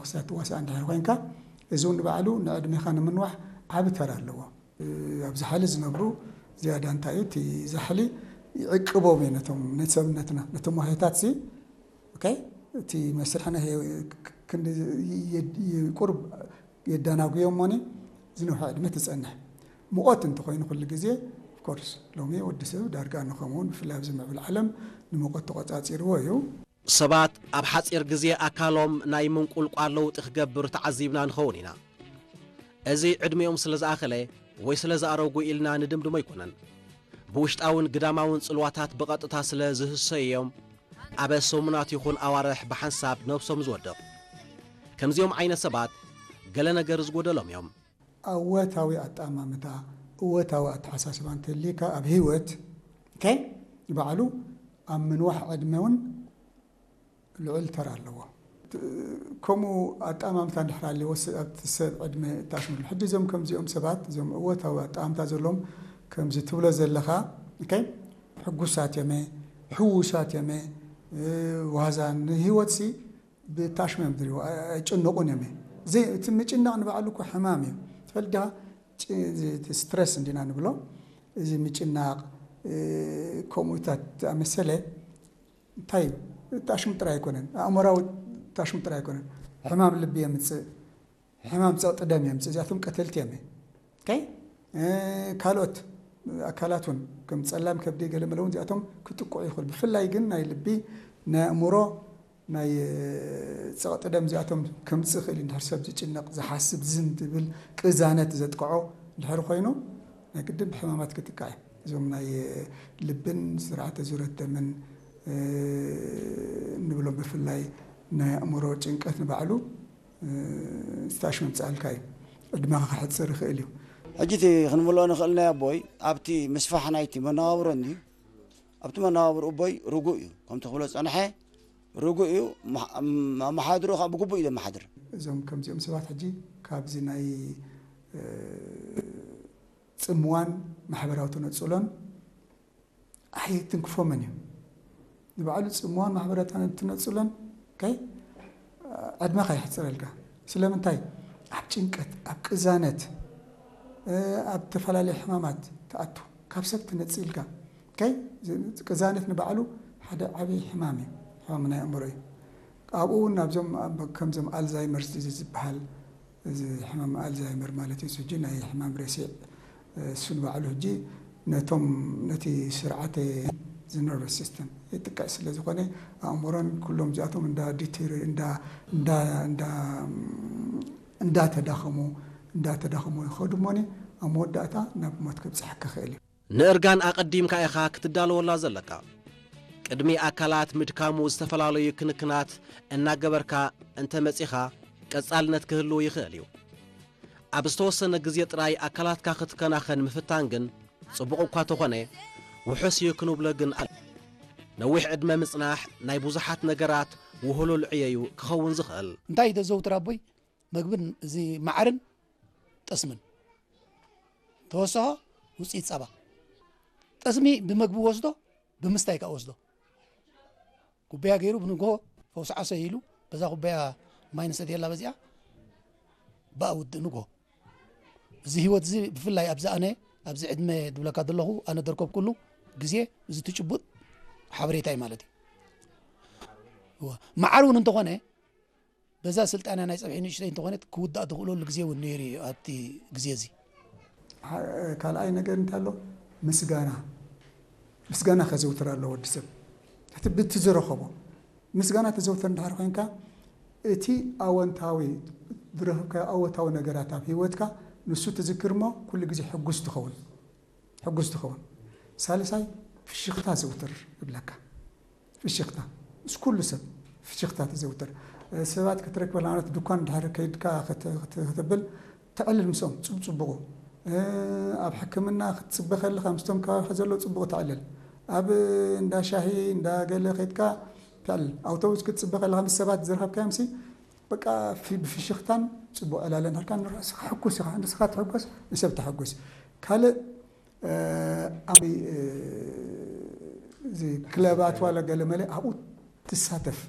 ክሳብ ትዋሳእ እንድሕር ኮይንካ፣ እዚ እውን ንባዕሉ ንዕድሜኻ ንምንዋሕ ዓቢ ተራ ኣለዎ። ኣብ ዛሕሊ ዝነብሩ ዝያዳ እንታይ እዩ፣ እቲ ዛሕሊ ይዕቅቦም እዩ ነቶም፣ ነቲ ሰብነትና፣ ነቶም ዋህዮታት ሲ፣ ኦኬ፣ እቲ መስርሕና ክንዲ ቁርብ የዳናጉዮም እሞኒ ዝነውሐ ዕድመ ትጸንሕ። ሙቐት እንተኾይኑ ኩሉ ግዜ፣ ኦፍኮርስ፣ ሎሚ ወዲ ሰብ ዳርጋ ንኸምኡ፣ ብፍላይ ኣብዚ ምዕብል ዓለም ንሙቐት ተቖጻጺርዎ እዩ። ሰባት ኣብ ሓጺር ግዜ ኣካሎም ናይ ምንቁልቋል ለውጢ ክገብር ተዓዚብና ንኸውን ኢና። እዚ ዕድሚኦም ስለ ዝኣኸለ ወይ ስለ ዝኣረጉ ኢልና ንድምድሞ ኣይኮነን። ብውሽጣውን ግዳማውን ጽልዋታት ብቐጥታ ስለ ዝህሰዩ እዮም ኣብ ሰሙናት ይኹን ኣዋርሕ ብሓንሳብ ነብሶም ዝወድቕ። ከምዚኦም ዓይነት ሰባት ገለ ነገር ዝጎደሎም እዮም። እወታዊ ኣጠማምታ፣ እወታዊ ኣተሓሳስባ እንተልዩካ ኣብ ህይወት፣ ኦኬ፣ ንባዕሉ ኣብ ምንዋሕ ዕድመ እውን ልዑል ተራ ኣለዎ። ከምኡ ኣጠማምታ እንድሕር ኣለዎ፣ ስ-፣ ኣብቲ ሰብ ዕድመ እታሽምሉ። ሕጂ እዞም ከምዚኦም ሰባት፣ እዞም እወታዊ ኣጠማምታ ዘለዎም፣ ከምዚ ትብሎ ዘለኻ፣ ኦኬ፣ ሕጉሳት እዮመ፣ ሕዉሳት እዮመ፣ እ፣ ዋዛ ንህይወትሲ ብታሽመ እዮም ዝሪእዎ፣ ኣይ-፣ ኣይጭነቑን እዮም። ዘይ-፣ እቲ ምጭናቕ ንባዕሉ እኮ ሕማም እዩ። ትፈልጥ ዲኻ? ጭ-፣ እዚ፣ እቲ ስትረስ እንዲና ንብሎ፣ እዚ ምጭናቕ፣ እ፣ ከምኡታት ዝኣመሰለ እንታይ እዩ? ታሽሙ ጥራይ ኣይኮነን። ኣእምሮኣዊ ታሽሙ ጥራይ ኣይኮነን። ሕማም ልቢ የምጽእ፣ ሕማም ጸቕጢ ደም የምጽእ። እዚኣቶም ቀተልቲ እዮም። ኦኬ? እ፣ ካልኦት ኣካላት እውን ከም ጸላም ከብዲ ገለ መለ እውን እዚኣቶም ክጥቅዑ ይኽእሉ። ብፍላይ ግን ናይ ልቢ፣ ናይ ኣእምሮ፣ ናይ፣ እ፣ ጸቕጢ ደም እዚኣቶም ከምጽእ ይኽእል እዩ። እንድሕር ሰብ ዝጭነቕ፣ ዝሓስብ፣ ዝን ዝብል ቅዛነት ዘጥቅዖ እንድሕር ኮይኑ፣ ናይ ግድን ብሕማማት ክጥቃዕ እዩ። እዞም ናይ ልብን ስርዓተ ዙረት ደምን፣ እ፣ እንብሎም ብፍላይ ናይ ኣእምሮ ጭንቀት ንባዕሉ፣ እ፣ ስታሽ መምጽኣልካ እዩ። ዕድመኻ ክሕጽር ይኽእል እዩ። ሕጂ እቲ ክንምልኦ ንኽእል ናይ ኣቦይ ኣብቲ ምስፋሕ ናይቲ መነባብሮ እንድዩ። ኣብቲ መነባብሮ ኣቦይ ርጉእ እዩ። ከምቲ ክብሎ ዝጸንሐ ርጉእ እዩ። መሓ-፣ ኣመሓድርኡ ከዓ ብግቡእ እዩ ዘመሓድር። እዞም ከምዚኦም ሰባት ሕጂ ካብዚ ናይ፣ እ፣ ጽምዋን ማሕበራዊ ተነጽሎን ኣይትንክፎምን እዩ። ንባዕሉ ጽምዋን ማሕበራዊ ተነጽሎን፣ ኦኬ፣ ዕድመኻ የሕጽረልካ። ስለምንታይ? ኣብ ጭንቀት፣ ኣብ ቅዛነት፣ እ፣ ኣብ ተፈላለዩ ሕማማት ትኣቱ። ካብ ሰብ ትነጽልካ። ኦኬ? እዚ ቅዛነት ንባዕሉ ሓደ ዓብዪ ሕማም እዩ። ሕማም ናይ ኣእምሮ እዩ። ኣብኡ እውን ናብዞም፣ ኣብ፣ ከምዞም ኣልዛይመርስ ዲዚዝ ዝበሃል፣ እዚ ሕማም ኣልዛይመር ማለት እዩ። እዚ ሕጂ ናይ ሕማም ረሲዕ፣ እሱ ንባዕሉ ሕጂ ነቶም፣ ነቲ ስርዓተ፣ እዚ ነርቨስ ሲስተም የጥቅዕ ስለ ዝኾነ፣ ኣእምሮን ኩሎም እዚኣቶም እንዳ ዲቴሪ-፣ እንዳ፣ እንዳ፣ እንዳ፣ እንዳተዳኸሙ፣ እንዳተዳኸሙ ይኸዱ እሞኒ፣ ኣብ መወዳእታ ናብ ሞት ከብጽሐካ ይኽእል እዩ። ንእርጋን ኣቐዲምካ ኢኻ ክትዳለወላ ዘለካ። ቅድሚ ኣካላት ምድካሙ ዝተፈላለዩ ክንክናት እናገበርካ እንተ መጺኻ፣ ቀጻልነት ክህልው ይኽእል እዩ። ኣብ ዝተወሰነ ግዜ ጥራይ ኣካላትካ ክትከናኸን ምፍታን ግን ጽቡቕ እኳ ተኾነ፣ ውሑስ እዩ ክንብሎ ግን ኣል-፣ ነዊሕ ዕድመ ምጽናሕ ናይ ብዙሓት ነገራት ውህሉል ዕዮ እዩ ክኸውን ዝኽእል። እንታይ ተዘውትር ኣቦይ? መግብን እዚ ማዓርን ጠስምን። ተወሰኸ ውፅኢት ፃባ። ጠስሚ ብመግቢ ወስዶ፣ ብምስታይ ከዓ ወስዶ። ኩባያ ገይሩ ብንጎ ፈውሲ ዓሶ ኢሉ፣ በዛ ኩባያ ማይ ንሰትየላ በዚኣ፣ ብኣ ውድእ ንጎ። እዚ ህይወት እዚ ብፍላይ ኣብዚ ኣነ፣ ኣብዚ ዕድመ ድብለካ ዘለኹ፣ ኣነ ደርከብኩሉ ግዜ፣ እዚ ትጭቡጥ ሓበሬታ እዩ ማለት እዩ። እወ። መዓር እውን እንተኾነ፣ በዛ ስልጣንያ ናይ ጸብሒ ንእሽተይ እንተኾነት ክውዳእ ዝኽእለሉ ግዜ እውን ነይሩ እዩ ኣብቲ ግዜ እዚ። ሓ-፣ ካልኣይ ነገር እንታይ ኣሎ? ምስጋና። ምስጋና ከዘውትር ኣለዎ ወዲ ሰብ። እቲ ብቲ ዝረኸቦ ምስጋና ተዘውትር እንድሕር ኮይንካ፣ እቲ ኣወንታዊ ዝረኸብካዮ ኣወንታዊ ነገራት ኣብ ህይወትካ ንሱ ትዝክር እሞ ኩሉ ግዜ ሕጉስ ትኸውን። ሕጉስ ትኸውን። ሳልሳይ፣ ፍሽኽታ ዘውትር እብለካ። ፍሽኽታ። ምስ ኩሉ ሰብ ፍሽኽታ ተዘውትር። ሰባት ክትረክበላ፣ ማለት ድኳን ድሕር ከይድካ ክት-፣ ክት-፣ ክትብል፣ ተዕልል ምስኦም፣ ጽብ-፣ ጽቡቑ። ኣብ ሕክምና ክትጽበ ከለኻ፣ ምስቶም ከባቢኻ ዘለዉ ጽቡቕ ተዕልል። ኣብ እንዳ ሻሂ፣ እንዳ ገለ ከይድካ ተዕልል። ኣውቶቡስ ክትጽበ ከለኻ፣ ምስ ሰባት ዝረኸብካዮምሲ፣ በቃ፣ ፊ-፣ ብፍሽኽታን ጽቡቕ ዕላለን ሃልካ፣ ንርእስኻ ሕጉስ ኢኻ። ንስኻ ትሕጎስ፣ ንሰብ ተሐጉስ። ካልእ፣ እ፣ ኣብ፣ እ፣ እዚ ክለባት ዋላ ገለ መለ ኣብኡ ትሳተፍ።